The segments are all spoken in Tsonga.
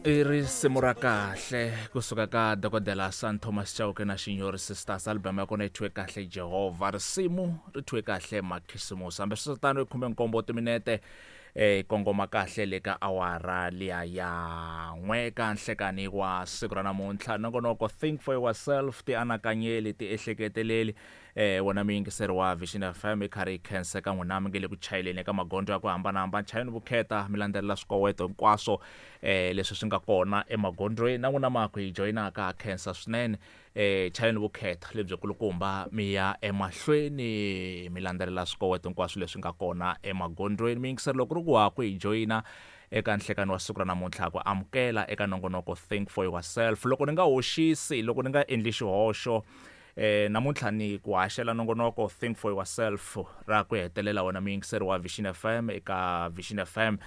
I risimu ra kahle kusuka ka dokodela San Thomas Chauke na Xinyori Sisters. Album ya kona yi thyiwe kahle Jehovha, risimu ri thyiwe kahle Makhisimusi. Hambi swi tano i 17 timinete kongoma kahle le ka awara liya ya 1 ka nhlekani wa siku ra namuntlha. Nongonoko Think for Yourself, ti anakanyeli, ti ehleketeleli. Wena muyingiseri wa Vision FM, i karhi yi khenseka n'wina mi nge le ku chayeleni eka magondzo ya ku hambanahambana. Chayeni vukheta, mi landzelela swikoweto hinkwaswo leswi swi nga kona emagondzweni. Na n'wina ma ku hi joyinaka, ha khensa swinene. Chayeni vukheta lebyi kulukumba, mi ya emahlweni mi landzelela swikoweto hinkwaswo leswi nga kona emagondzweni. Muyingiseri, loko ri ku ha ku hi joyina eka nhlekani wa siku ra namuntlha, ku amukela eka nongonoko Think for Yourself. Loko ni nga hoxisi, loko ni nga endli xihoxo, namuntlha ni ku haxela nongonoko Think for Yourself ra ku hetelela, wena muyingiseri wa Vision FM, eka Vision FM.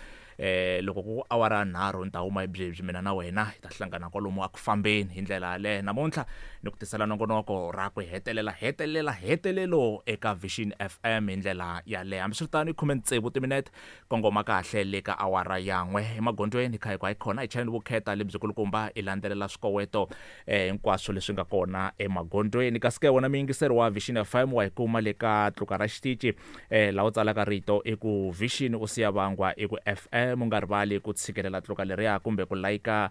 Loko ku awara 3 ni ta huma hi byebyi, mina na wena hi ta hlangana kwalomu a ku fambeni. Hi ndlela yaleyo, namuntlha ni ku tisela nongonoko ra ku hetelela, hetelela, hetelelo eka Vision FM hi ndlela yaleyo. Hambiswiritano, i 16 timinete kongoma kahle le ka awara ya 1. Emagondzweni kha hi ku hayi khona, hi chayeni vukheta lebyi kulukumba, i landzelela swikoweto hinkwaswo leswi nga kona emagondzweni. Kasi ke wena muyingiseri wa Vision FM, wa hi kuma le ka tluka ra xitici, laha u tsalaka rito i ku Vision, u siya vangwa i ku FM. U nga rivali ku tshikelela tluka leriya kumbe ku layika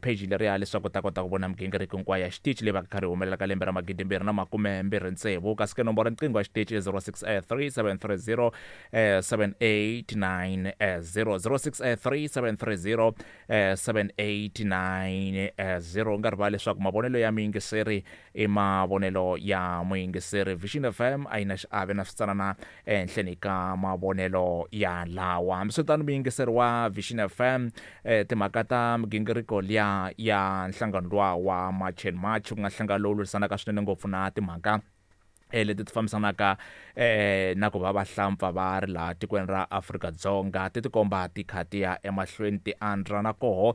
page leriya leswaku u ta kota ku vona migingiriko hinkwayo ya xitici leyi va ka karhi humelela ka lembe ra 2026. Kasi ke nomboro riqingho ya xitici 063 730 7890, 063 730 7890. U nga rivali leswaku mavonelo ya muyingiseri i mavonelo ya muyingiseri. Vision FM a yi na xiave na switsanana ehenhleni ka mavonelo ya lawa. Hambiswiritano, muyingiseri wa Vision FM, timhaka ta migingiriko liya ya nhlangano luwa wa March and March, ku nga nhlangano lowu lwisanaka swinene ngopfu na timhaka leti ti fambisanaka na ku va vahlampfa va ri laha tikweni ra Afrika-Dzonga, ti tikomba ti kha ti ya emahlweni ti andza, na koho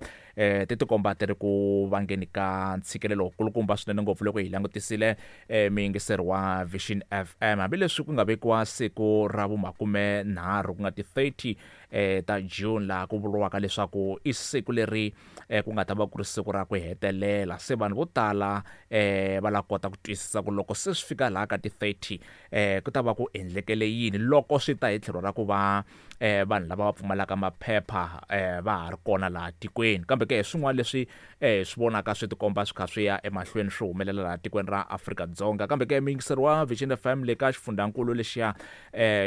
ti tikomba ti ri ku vangeni ka ntshikelelo kulukumba swinene ngopfu loko hi langutisile, muyingiseri wa Vision FM. Hambileswi ku nga vekiwa siku ra vu-30, ku nga ti 30 ta June, laha ku vuriwaka leswaku i siku leri ku nga ta va ku ri siku ra ku hetelela, se vanhu vo tala va la kota ku twisisa ku loko se swi fika laha ka ti 30 ku ta va ku endlekele yini loko swi ta hi tlhelo ra ku va vanhu lava va pfumalaka maphepha va ha ri kona laha tikweni. Kambe ke swin'wana leswi swi vonaka swi tikomba swi kha swi ya emahlweni swi humelela laha tikweni ra Afrika-Dzonga. Kambe ke muyingiseri wa Vision FM, le ka xifundzankulu lexiya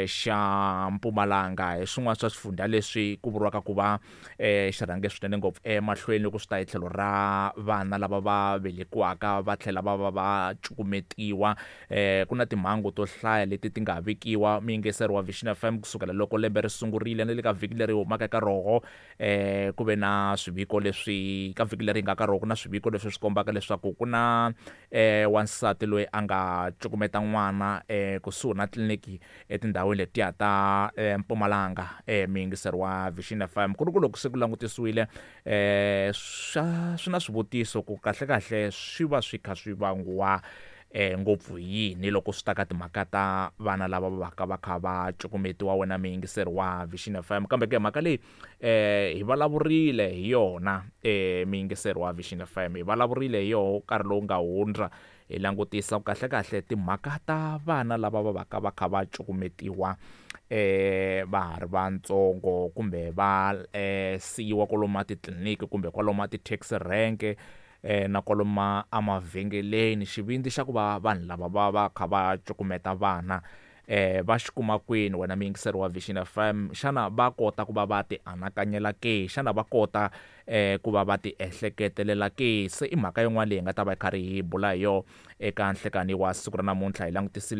xa Mpumalanga, hi swin'wana swa swifundza leswi ku vuriwaka ku va xi rhange swinene ngopfu emahlweni loko swi ta hi tlhelo ra vana lava va velekiwaka va tlhela va va va cukumetiwa. Ku na timhangu to hlaya leti ti nga vikiwa, muyingiseri wa Vision FM, kusukela loko lembe ri sungurile. Na le ka vhiki leri humaka eka roho ku ve na swiviko leswi, ka vhiki leri hi nga ka roho ku na swiviko leswi swi kombaka leswaku ku na wansati loyi a nga cukumeta n'wana kusuhi na tliliniki etindhawini letiya ta Mpumalanga. Muyingiseri wa Vision FM, ku ri ku loko se ku langutisiwile, swa swi na swivutiso ku kahle kahle swi va swi kha swi vangiwa ngopfu hi yini loko swi ta ka timhaka ta vana lava va ka va kha va cukumetiwa, wena muyingiseri wa Vision FM. Kambe ke mhaka leyi hi vulavurile hi yona, muyingiseri wa Vision FM, hi vulavurile hi yoho nkarhi lowu nga hundza, hi langutisa ku kahle kahle timhaka ta vana lava va va ka va kha va cukumetiwa va ha ri vantsongo kumbe va siyiwa kwalomu a titliliniki kumbe kwalomu a ti-taxi rank na kwalomu emavhengeleni. Xivindzi xa ku va vanhu lava va va kha va cukumeta vana va xi kuma kwini, wena muyingiseri wa Vision FM? Xana va kota ku va va ti anakanyela ke? Xana va kota ku va va ti ehleketelela ke? Se i mhaka yin'wana leyi hi nga ta va hi karhi hi bula hi yona eka nhlekani wa siku ra namuntlha, hi langutisile.